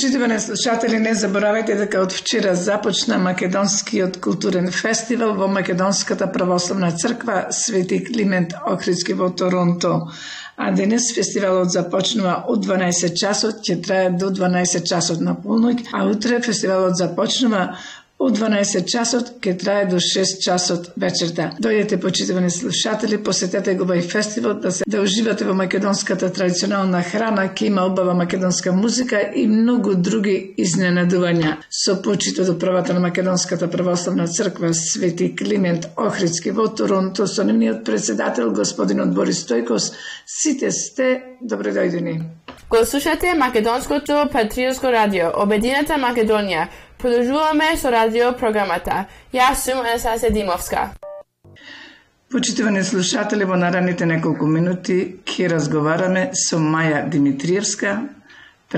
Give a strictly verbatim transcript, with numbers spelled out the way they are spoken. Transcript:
Почитувани слушатели, не заборавајте дека од вчера започна Македонскиот културен фестивал во Македонската православна црква Свети Климент Охридски во Торонто. А денес фестивалот започнува од дванаесет часот, ќе трае до дванаесет часот на полноќ, а утре фестивалот започнува од дванаесет часот, ќе трае до шест часот вечерта. Дојдете, почитувани слушатели, посетете го овој фестивал да се да уживате во македонската традиционална храна, ќе има убава македонска музика и многу други изненадувања. Со почитот до правата на Македонската православна црква Свети Климент Охридски во Торонто, со нивниот председател господинот Борис Стојкос, сите сте добредојдени. Го слушате Македонското патриотско радио, Обединета Македонија. Продолжуваме со радио програмата. Јас сум Анастасија Димовска. Почитувани слушатели, во наредните неколку минути ќе разговараме со Маја Димитриевска,